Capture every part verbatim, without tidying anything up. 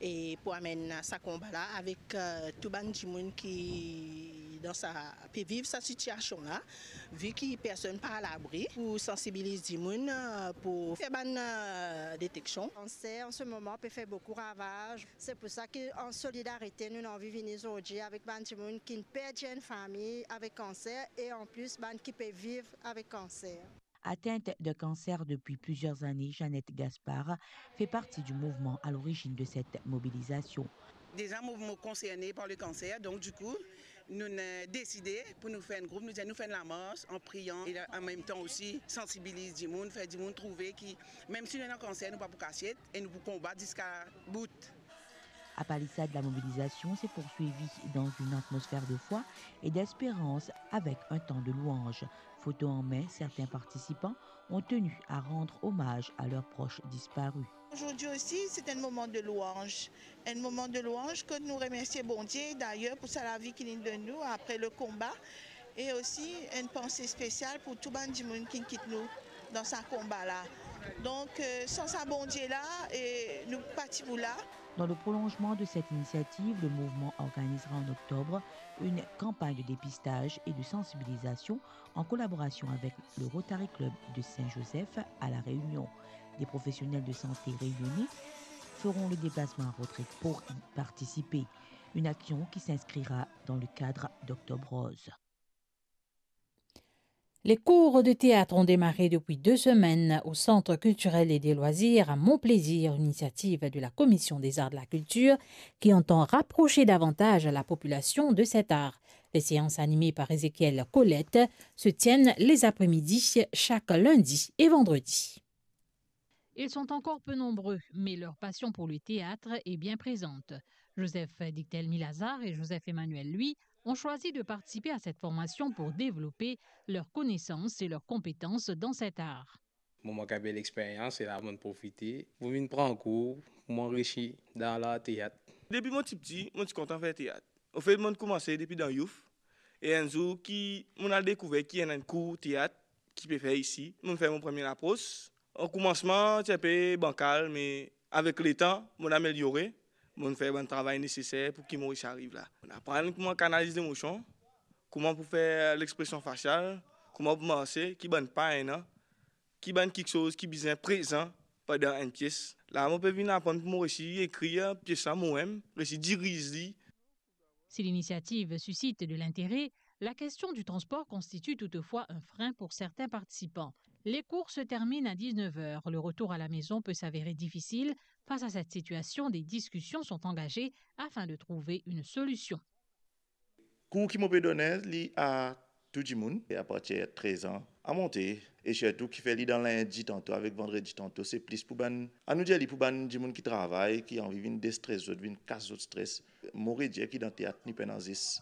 E pou amenn sa konba la avek, eh, tou bann dimoun ki dan sa, pe viv sa sitiasion la, vi ki personn pa alabri, pou sansibiliz dimoun, eh, pou fer bann, eh, deteksion. Kanser, an se moman, pe fer boukou ravaz. Se pou sa ki, an solidarite, nou anvi vini zordi avek bann dimoun ki perdi enn fami avek kanser e an plis bann ki pe viv avek kanser. Atteinte d'un cancer depuis plusieurs années, Jeannette Gaspard fait partie du mouvement à l'origine de cette mobilisation. Deza mo, mo konserne par le kanser, donk dikou, nou, eh, deside pou nou fer enn group, nou dir nou fer enn lamars an priyan e an mem tan osi sansibiliz dimoun, fer dimoun trouve ki, mem si nou ena kanser, nou pa pou kasiet e nou pou konbat ziska bout. À Palissade, la mobilisation s'est poursuivie dans une atmosphère de foi et d'espérance avec un temps de louange. Photo en main, certains participants ont tenu à rendre hommage à leurs proches disparus. Aujourd'hui aussi, c'est un moment de louange. Un moment de louange ke nou remersie Bondie, d'ailleurs, pou sa lavi ki li donn nou après le combat. E osi, enn panse spesial pou tou bann dimoun ki kit nou dan sa konba la. Donk, eh, san sa Bondie la, e nou pa ti pou la. Dans le prolongement de cette initiative, le mouvement organisera en octobre une campagne de dépistage et de sensibilisation en collaboration avec le Rotary Club de Saint-Joseph à La Réunion. Des professionnels de santé réunionnais feront le déplacement à Rodrigue pour y participer. Une action qui s'inscrira dans le cadre d'Octobre Rose. Les cours de théâtre ont démarré depuis deux semaines au Centre culturel et des loisirs à Mon Plaisir, initiative de la Commission des arts de la culture qui entend rapprocher davantage la population de cet art. Les séances animées par Ézéchiel Colette se tiennent les après-midi chaque lundi et vendredi. Ils sont encore peu nombreux, mais leur passion pour le théâtre est bien présente. Joseph Dictel-Milazar et Joseph Emmanuel, lui, ont choisi de participer à cette formation pour développer leurs connaissances et leurs compétences dans cet art. Mo, mo gagn bel experyans, e la mo profite pou vinn pran kour, pou mo anrisi dan lateat. Depi mo ti piti, mo ti kontan fer teat. Anfet, mo koumanse depi dan youth. E enn zour ki mo al dekouver ki ena enn kour teat ki pe fer isi, mo fer mo premie lapros. Okoumansman, ti enpe bankal, me avek letan, mo ameliore, mo fer bann travay neseser pou ki mo resi ariv la. Mo aprann kouma kanaliz lemosion, kouma pou fer lexpresion fasial, kouma pou marse, ki bann pa ena, ki bann kiksoz ki bizin prezan pandan enn pies. La, mo pe vinn aprann pou mo resi ekrir pies la momem, resi diriz li. Si l'initiative suscite de l'intérêt, la question du transport constitue toutefois un frein pour certains participants. Les cours se terminent à dix-neuf heures. Le retour à la maison peut s'avérer difficile. Face à cette situation, des discussions sont engagées afin de trouver une solution. Kour ki mo pe done, li a tou dimoun, e apartir trez an a monte, e sirtou ki fer li dan lindi tanto avek vandredi tanto, se plis pou bann, anou dir li pou bann dimoun ki travay, ki anvi vinn destres zot, vinn kas zot stres. Mo redir ki dan teat, ni pena zis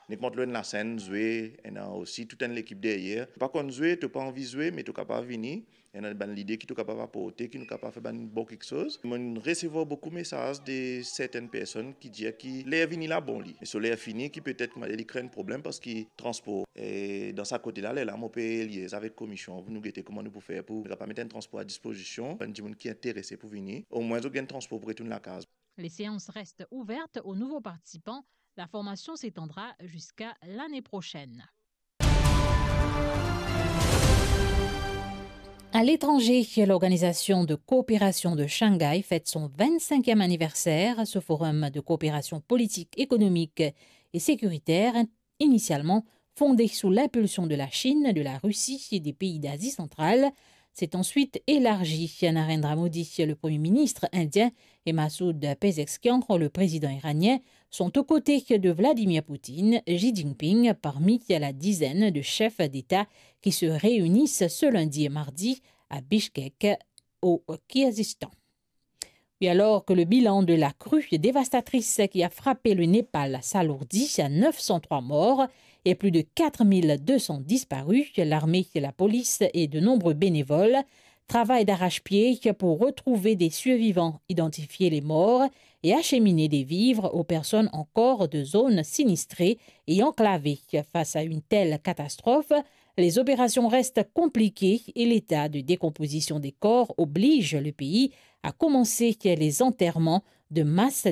nek mont lor enn lasenn, zwe, ena osi tou enn lekip deryer. To pa konn zwe, to pa anvi zwe, me to kapav vini, ena bann lide ki to kapav aporte, ki nou kapav fer bann bon kiksoz. Mo resevwar boukou mesaz de sertenn personn ki dir ki ler vini la bon li, me so ler fini ki petet, kouma dir, li kre enn problem parski transpor. E dan sa kote la, lerla mo pe liez avek komision pou nou gete kouma nou pou fer pou nou kapav met enn transpor a dispozision bann dimoun ki interese pou vini. Omwin zot gagn transpor pou retourn lakaz. Les séances restent ouvertes aux nouveaux participants. La formation s'étendra jusqu'à l'année prochaine. À l'étranger, l'Organisation de coopération de Shanghai fête son vingt-cinquième anniversaire. Ce forum de coopération politique, économique et sécuritaire, initialement fondé sous l'impulsion de la Chine, de la Russie et des pays d'Asie centrale, s'est ensuite élargi. Narendra Modi, le Premier ministre indien, et Masoud Pezeshkian, le président iranien, sont aux côtés de Vladimir Poutine, Xi Jinping parmi la dizaine de chefs d'État qui se réunissent ce lundi et mardi à Bishkek, au Kirghizistan. Et alors que le bilan de la crue dévastatrice qui a frappé le Népal s'alourdit à neuf cent trois morts et plus de quatre mille deux cents disparus, l'armée, la police et de nombreux bénévoles travaillent d'arrache-pied pour retrouver des survivants, identifier les morts et acheminer des vivres aux personnes encore de zones sinistrées et enclavées. Face à une telle catastrophe, les opérations restent compliquées et l'état de décomposition des corps oblige le pays à commencer les enterrements de masse